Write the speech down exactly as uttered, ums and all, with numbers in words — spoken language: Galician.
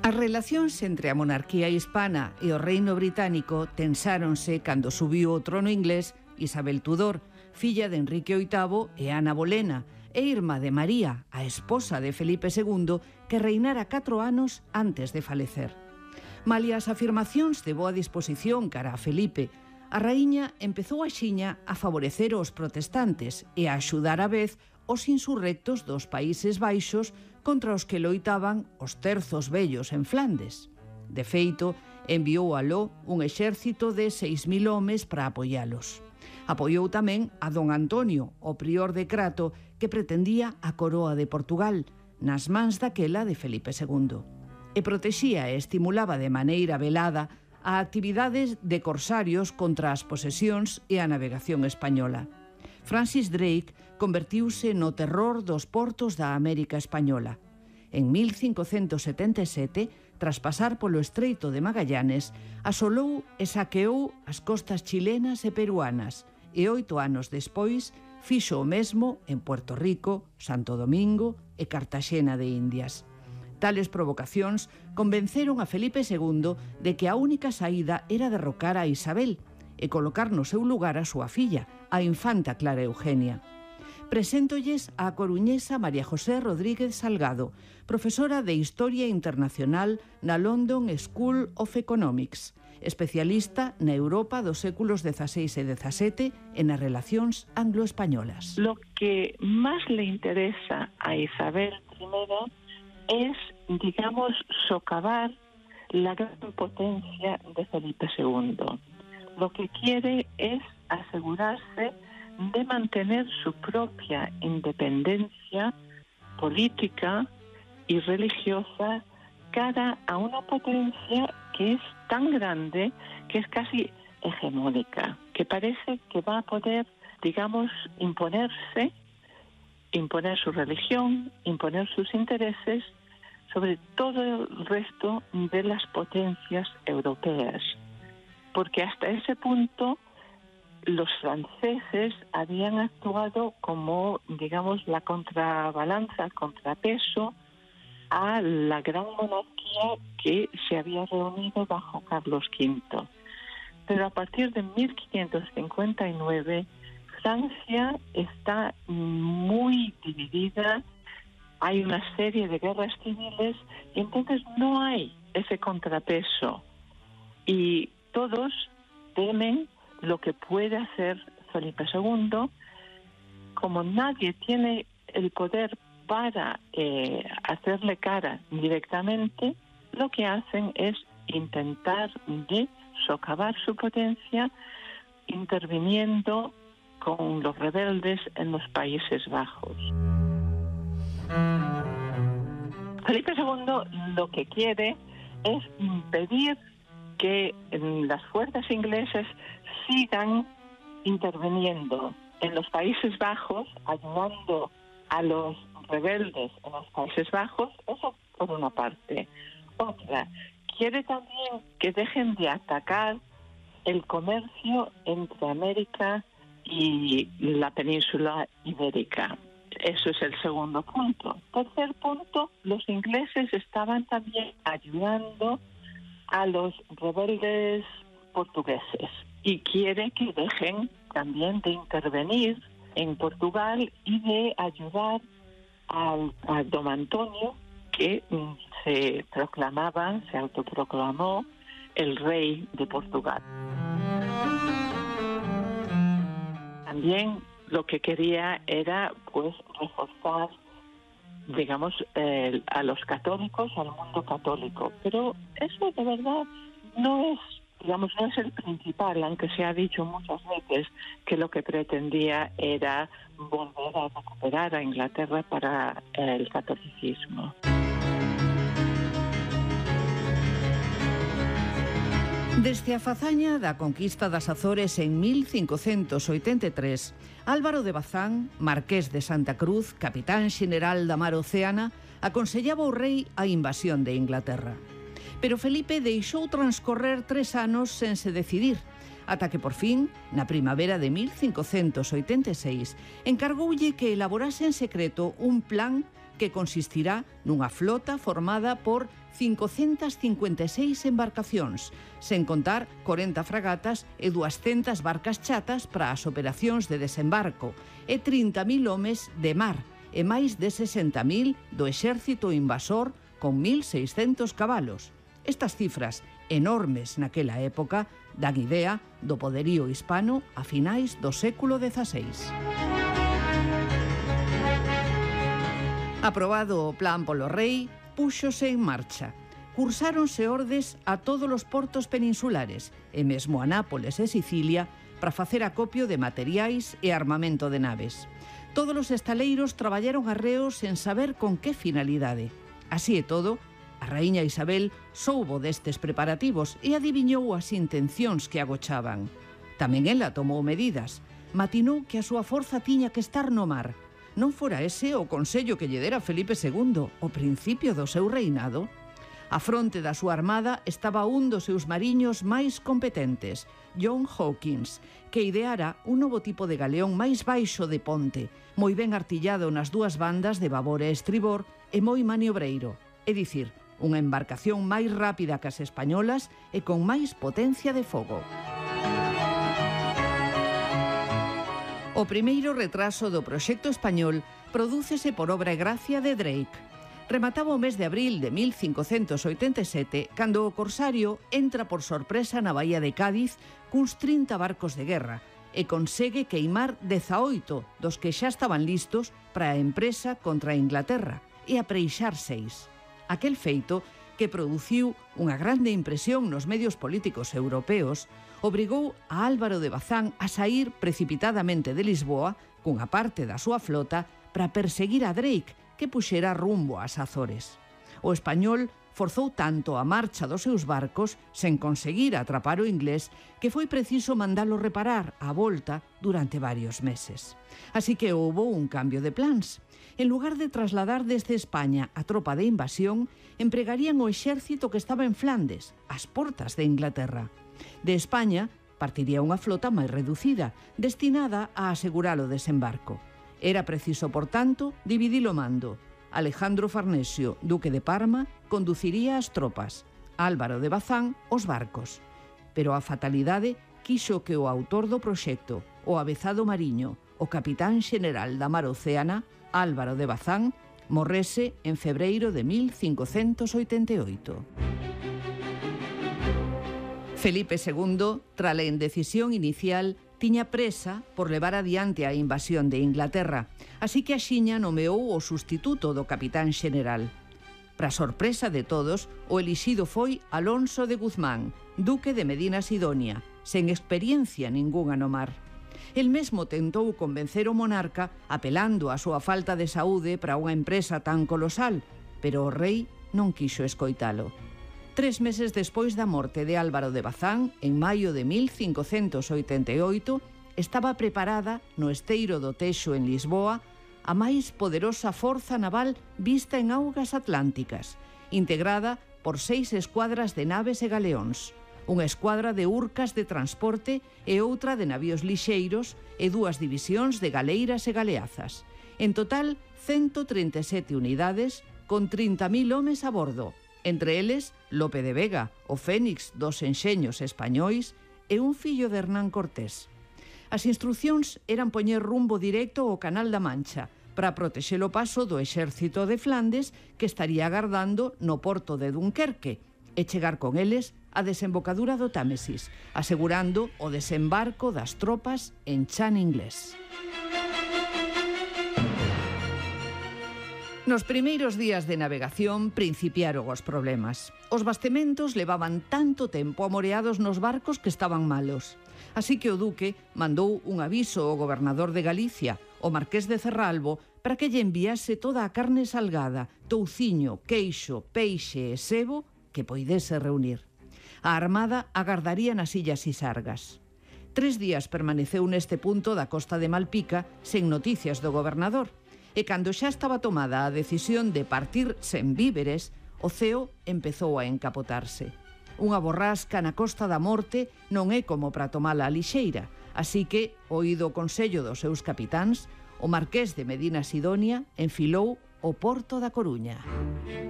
As relacións entre a monarquía hispana e o reino británico tensáronse cando subiu ao trono inglés Isabel Tudor, filla de Enrique oitavo e Ana Bolena, e irmá de María, a esposa de Felipe segundo, que reinara catro anos antes de falecer. Malia as afirmacións de boa disposición cara a Felipe, a raíña empezou axiña a favorecer os protestantes e a axudar á vez os insurrectos dos Países Baixos contra os que loitaban os terzos vellos en Flandes. De feito, enviou aló un exército de seis mil homes para apoialos. Apoiou tamén a don Antonio, o prior de Crato, que pretendía a coroa de Portugal, nas mans daquela de Felipe segundo. E protexía e estimulaba de maneira velada a actividades de corsarios contra as posesións e a navegación española. Francis Drake convertiuse no terror dos portos da América Española. En mil cincocentos setenta e sete, tras pasar polo Estreito de Magallanes, asolou e saqueou as costas chilenas e peruanas e oito anos despois fixo o mesmo en Puerto Rico, Santo Domingo e Cartaxena de Indias. Tales provocacións convenceron a Felipe segundo de que a única saída era derrocar a Isabel e colocar no seu lugar a súa filla, a infanta Clara Eugenia. Preséntolles a coruñesa María José Rodríguez Salgado, profesora de Historia Internacional na London School of Economics, especialista na Europa dos séculos dieciséis e diecisiete e nas relacións anglo-españolas. Lo que más le interesa a Isabel primero es, digamos, socavar la gran potencia de Felipe segundo. Lo que quiere es asegurarse de mantener su propia independencia política y religiosa cara a una potencia que es tan grande que es casi hegemónica, que parece que va a poder, digamos, imponerse, imponer su religión, imponer sus intereses sobre todo el resto de las potencias europeas. Porque hasta ese punto los franceses habían actuado como, digamos, la contrabalanza, el contrapeso a la gran monarquía que se había reunido bajo Carlos quinto. Pero a partir de mil quinientos cincuenta y nueve, Francia está muy dividida, hay una serie de guerras civiles y entonces no hay ese contrapeso. Y todos temen lo que puede hacer Felipe segundo. Como nadie tiene el poder para eh, hacerle cara directamente, lo que hacen es intentar de socavar su potencia interviniendo con los rebeldes en los Países Bajos. Felipe segundo lo que quiere es impedir que las fuerzas inglesas sigan interviniendo en los Países Bajos, ayudando a los rebeldes en los Países Bajos, eso por una parte. Otra, quiere también que dejen de atacar el comercio entre América y la península ibérica. Eso es el segundo punto. Tercer punto, los ingleses estaban también ayudando a los rebeldes portugueses y quiere que dejen también de intervenir en Portugal y de ayudar al, a don Antonio, que mm, se proclamaba, se autoproclamó el rey de Portugal. También lo que quería era pues reforzar, digamos, eh, a los católicos, al mundo católico. Pero eso de verdad no es, digamos, no es el principal, aunque se ha dicho muchas veces que lo que pretendía era volver a recuperar a Inglaterra para el catolicismo. Desde a fazaña da conquista das Azores en mil cincocentos oitenta e tres, Álvaro de Bazán, marqués de Santa Cruz, capitán xeneral da Mar Océana, aconsellaba ao rei a invasión de Inglaterra. Pero Felipe deixou transcorrer tres anos sen se decidir, ata que por fin, na primavera de mil cincocentos oitenta e seis, encargoulle que elaborase en secreto un plan que consistirá nunha flota formada por cincocentas cincuenta e seis embarcacións, sen contar corenta fragatas e duascentas barcas chatas para as operacións de desembarco e trinta mil homes de mar e máis de sesenta mil do exército invasor con mil seiscentos cabalos. Estas cifras, enormes naquela época, dan idea do poderío hispano a finais do século dezaseis. Aprobado o plan polo rei, púxose en marcha. Cursáronse ordes a todos os portos peninsulares e mesmo a Nápoles e Sicilia para facer acopio de materiais e armamento de naves. Todos os estaleiros traballaron arreos sen saber con que finalidade. Así e todo, a raíña Isabel soubo destes preparativos e adiviñou as intencións que agochaban. Tamén ela tomou medidas. Matinou que a súa forza tiña que estar no mar. Non fora ese o consello que lle dera Felipe segundo, ao principio do seu reinado? A fronte da súa armada estaba un dos seus mariños máis competentes, John Hawkins, que ideara un novo tipo de galeón máis baixo de ponte, moi ben artillado nas dúas bandas de babor e estribor e moi maniobreiro, é dicir, unha embarcación máis rápida que as españolas e con máis potencia de fogo. O primeiro retraso do proxecto español prodúcese por obra e gracia de Drake. Remataba o mes de abril de mil cincocentos oitenta e sete cando o corsario entra por sorpresa na bahía de Cádiz cuns trinta barcos de guerra e consegue queimar dezaoito dos que xa estaban listos para a empresa contra a Inglaterra e apreixar seis. Aquel feito, que produciu unha grande impresión nos medios políticos europeos, obrigou a Álvaro de Bazán a saír precipitadamente de Lisboa cunha parte da súa flota para perseguir a Drake, que puxera rumbo ás Azores. O español forzou tanto a marcha dos seus barcos sen conseguir atrapar o inglés que foi preciso mandalo reparar á volta durante varios meses. Así que houbo un cambio de plans. En lugar de trasladar desde España a tropa de invasión, empregarían o exército que estaba en Flandes, ás portas de Inglaterra. De España partiría unha flota máis reducida, destinada a asegurar o desembarco. Era preciso, por tanto, dividir o mando. Alejandro Farnesio, duque de Parma, conduciría as tropas, Álvaro de Bazán os barcos. Pero a fatalidade quixo que o autor do proxecto, o avezado mariño, o capitán xeneral da Mar Océana, Álvaro de Bazán, morrese en febreiro de mil cincocentos oitenta e oito. Felipe segundo, tras a indecisión inicial, tiña presa por levar adiante a invasión de Inglaterra, así que axiña nomeou o sustituto do capitán xeneral. Para sorpresa de todos, o elixido foi Alonso de Guzmán, duque de Medina Sidonia, sen experiencia ningunha no mar. El mesmo tentou convencer o monarca apelando á súa falta de saúde para unha empresa tan colosal, pero o rei non quixo escoitalo. Tres meses despois da morte de Álvaro de Bazán, en maio de mil cincocentos oitenta e oito, estaba preparada no esteiro do Texo en Lisboa a máis poderosa forza naval vista en augas atlánticas, integrada por seis escuadras de naves e galeóns, unha escuadra de urcas de transporte e outra de navíos lixeiros e dúas divisións de galeiras e galeazas. En total, ciento trinta e sete unidades con trinta mil homes a bordo, entre eles Lope de Vega, o fénix dos enxeños españois e un fillo de Hernán Cortés. As instruccións eran poñer rumbo directo ao Canal da Mancha para protexer o paso do exército de Flandes que estaría agardando no porto de Dunquerque e chegar con eles á desembocadura do Támesis, asegurando o desembarco das tropas en chan inglés. Nos primeiros días de navegación principiaron os problemas. Os bastementos levaban tanto tempo amoreados nos barcos que estaban malos. Así que o duque mandou un aviso ao gobernador de Galicia, o marqués de Cerralbo, para que lle enviase toda a carne salgada, touciño, queixo, peixe e sebo que poidese reunir. A armada agardaría nas illas Isargas. Tres días permaneceu neste punto da costa de Malpica sen noticias do gobernador, e cando xa estaba tomada a decisión de partir sen víveres, o ceo empezou a encapotarse. Unha borrasca na Costa da Morte non é como para tomala a lixeira, así que, oído o consello dos seus capitáns, o marqués de Medina Sidonia enfilou o Porto da Coruña.